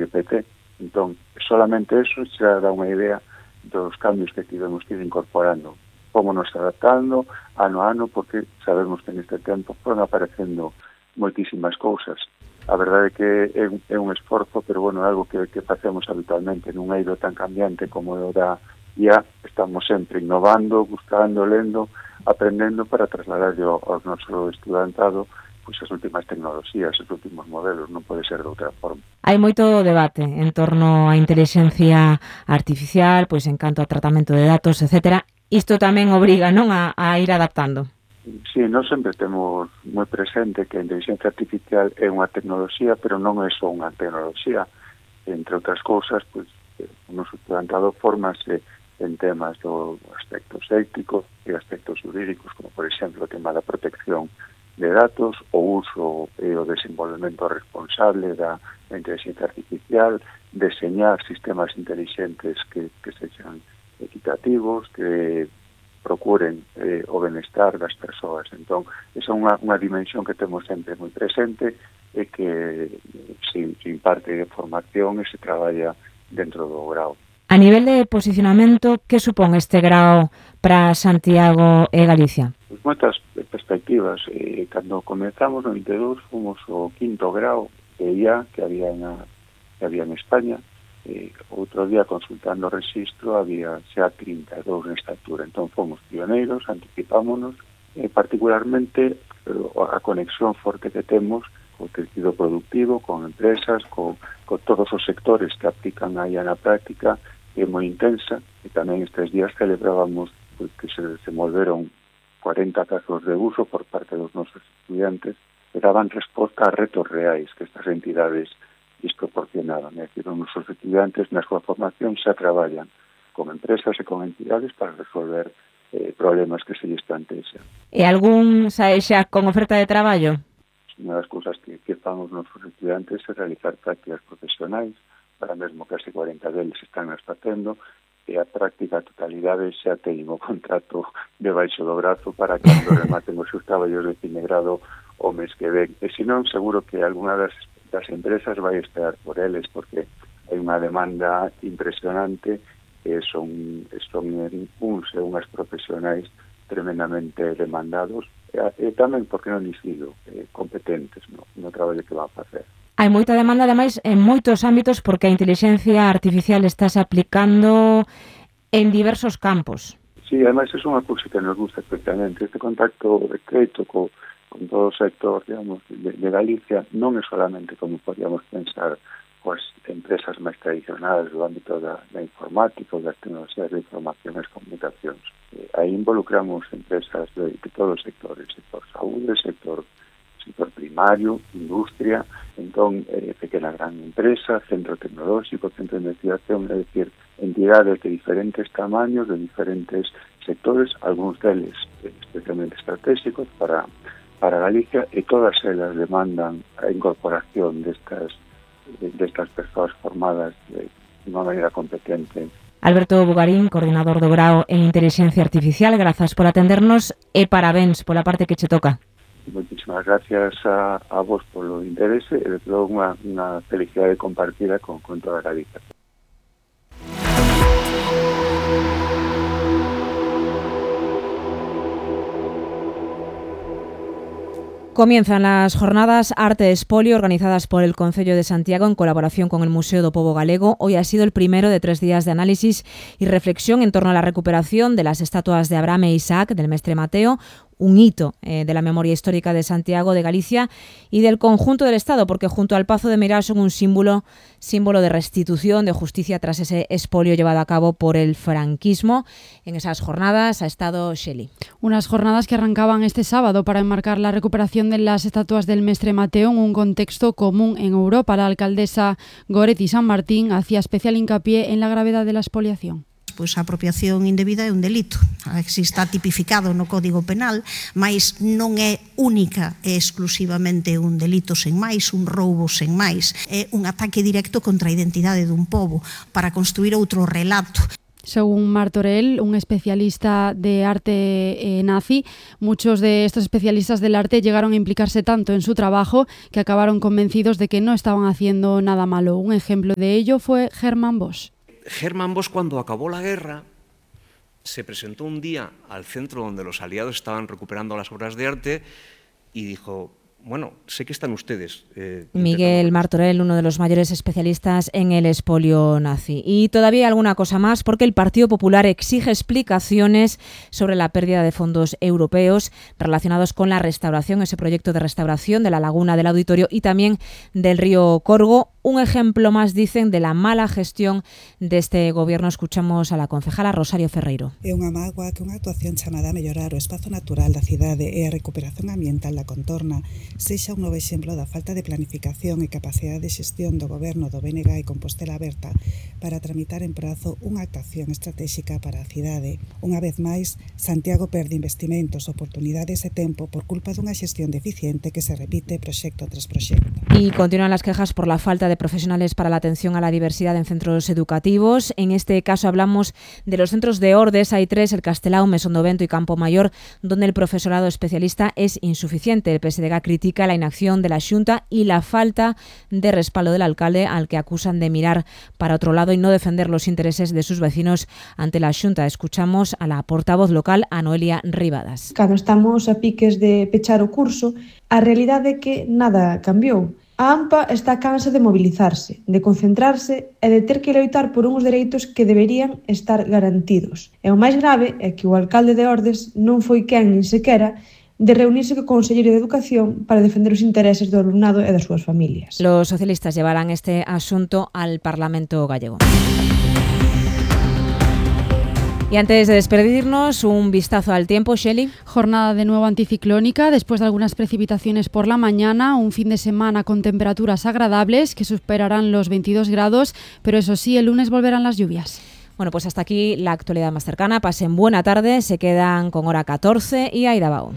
GPT. Entón, solamente eso xa dá unha idea dos cambios que tivemos que ir incorporando, como nos adaptando ano a ano, porque sabemos que neste tempo foron aparecendo moitísimas cousas. A verdade é que é un esforzo, pero bueno, é algo que facemos habitualmente, nun eido tan cambiante como o da IA, estamos sempre innovando, buscando, lendo, aprendendo para trasladar ao noso estudantado pois as últimas tecnoloxías, os últimos modelos, non pode ser de outra forma. Hai moito debate en torno á inteligencia artificial, pois en canto a tratamento de datos, etcétera. Isto tamén obriga, non, a ir adaptando. Sí, nós sempre temos moi presente que a inteligencia artificial é unha tecnoloxía, pero non é só unha tecnoloxía. Entre outras cousas, pois, o noso estudantado formase en temas do aspectos éticos e aspectos jurídicos, como por exemplo o tema da protección de datos, o uso e o desenvolvemento responsable da inteligencia artificial, deseñar sistemas inteligentes que sexan equitativos, que procuren o benestar das persoas. Entón, esa é unha dimensión que temos sempre moi presente e que se imparte de formación e se traballa dentro do grau. A nivel de posicionamento, que supón este grau para Santiago e Galicia? Pues moitas perspectivas. Cando comenzamos no 92 fomos o quinto grau de IA que había en España. Outro día, consultando o registro, había xa 32 nesta altura. Entón fomos pioneiros, anticipámonos, particularmente a conexión forte que temos co tecido productivo, con empresas, con todos os sectores que aplican a IA na práctica, é moi intensa, e tamén estes días celebrábamos que se desenvolveron 40 casos de uso por parte dos nosos estudiantes que daban resposta a retos reais que estas entidades proporcionaban. É dicir, os nosos estudiantes na súa formación xa traballan con empresas e con entidades para resolver problemas que se lles plantexan. E algún sae xa con oferta de traballo? Unha das cousas que fan os nosos estudiantes é realizar prácticas profesionais, para mesmo case 40 deles están as facendo, e a práctica a totalidade xa teñen o contrato debaixo do brazo para cando rematen os seus traballos de fine grado o mes que ven. E senón, seguro que algunha das empresas vai esperar por eles, porque hai unha demanda impresionante e son uns e unhas profesionais tremendamente demandados e tamén, porque non dicido, competentes no traballo que van a facer. Hai moita demanda, ademais, en moitos ámbitos, porque a inteligencia artificial estáse aplicando en diversos campos. Sí, ademais, é unha cousa que nos gusta especialmente. Este contacto estreito con todo o sector, digamos, de Galicia non é solamente como podíamos pensar coas empresas máis tradicionais do ámbito da informática ou das tecnoloxías de información e comunicacións. Aí involucramos empresas de todos os sectores, sector saúde, sector primario, industria, entón, pequena gran empresa, centro tecnolóxico, centro de investigación, é dicir, entidades de diferentes tamaños, de diferentes sectores, algúns deles especialmente estratégicos para Galicia, e todas elas demandan a incorporación destas persoas formadas de unha maneira competente. Alberto Bugarín, coordinador do grau en Inteligencia Artificial, grazas por atendernos e parabéns pola parte que che toca. Moitísimas gracias a vos polo interese e de todo unha felicidade compartida con toda a Galicia. Comienzan las jornadas Arte Espolio organizadas por el Concello de Santiago en colaboración con el Museo do Pobo Galego. Hoy ha sido el primero de 3 días de análisis y reflexión en torno a la recuperación de las estatuas de Abraham e Isaac del Mestre Mateo, un hito de la memoria histórica de Santiago, de Galicia y del conjunto del Estado, porque junto al Pazo de Meirás son un símbolo de restitución, de justicia tras ese expolio llevado a cabo por el franquismo. En esas jornadas ha estado Shelley. Unas jornadas que arrancaban este sábado para enmarcar la recuperación de las estatuas del Mestre Mateo en un contexto común en Europa. La alcaldesa Goretti San Martín hacía especial hincapié en la gravedad de la expoliación. Pois a apropiación indebida é un delito. Está tipificado no Código Penal, mas non é única e exclusivamente un delito sen máis, un roubo sen máis. É un ataque directo contra a identidade dun pobo para construir outro relato. Según Martorell, un especialista de arte nazi, muchos de estos especialistas del arte llegaron a implicarse tanto en su trabajo que acabaron convencidos de que no estaban haciendo nada malo. Un ejemplo de ello fue Hermann Bosch. Hermann Bosch, cuando acabó la guerra, se presentó un día al centro donde los aliados estaban recuperando las obras de arte y dijo: bueno, sé que están ustedes. Miguel Martorell, uno de los mayores especialistas en el expolio nazi. Y todavía hay alguna cosa más, porque el Partido Popular exige explicaciones sobre la pérdida de fondos europeos relacionados con la restauración, ese proyecto de restauración de la laguna del Auditorio y también del río Corgo. Un ejemplo más, dicen, de la mala gestión de este gobierno. Escuchamos a la concejala Rosario Ferreiro. É unha mágoa que unha actuación chamada a mellorar o espazo natural da cidade e a recuperación ambiental da contorna sexa un novo exemplo da falta de planificación e capacidade de xestión do goberno do BNG e Compostela Aberta para tramitar en prazo unha actuación estratégica para a cidade. Unha vez máis, Santiago perde investimentos, oportunidades e tempo por culpa dunha xestión deficiente que se repite proxecto tras proxecto. Y continúan las quejas por la falta de profesionales para la atención a la diversidad en centros educativos. En este caso hablamos de los centros de Ordes. Hay 3, el Castelao, Mesondovento y Campo Mayor, donde el profesorado especialista es insuficiente. El PSDG critica la inacción de la Xunta y la falta de respaldo del alcalde, al que acusan de mirar para otro lado y no defender los intereses de sus vecinos ante la Xunta. Escuchamos a la portavoz local, a Noelia Ribadas. Cando estamos a piques de pechar o curso, a realidade é que nada cambiou. A AMPA está cansa de mobilizarse, de concentrarse e de ter que loitar por uns dereitos que deberían estar garantidos. E o máis grave é que o alcalde de Ordes non foi quen nin sequera de reunirse co Conselleiro de Educación para defender os intereses do alumnado e das súas familias. Los socialistas llevarán este asunto al Parlamento gallego. Y antes de despedirnos, un vistazo al tiempo, Shelley. Jornada de nuevo anticiclónica, después de algunas precipitaciones por la mañana, un fin de semana con temperaturas agradables que superarán los 22 grados, pero eso sí, el lunes volverán las lluvias. Bueno, pues hasta aquí la actualidad más cercana. Pasen buena tarde, se quedan con hora 14 y Aida Bao.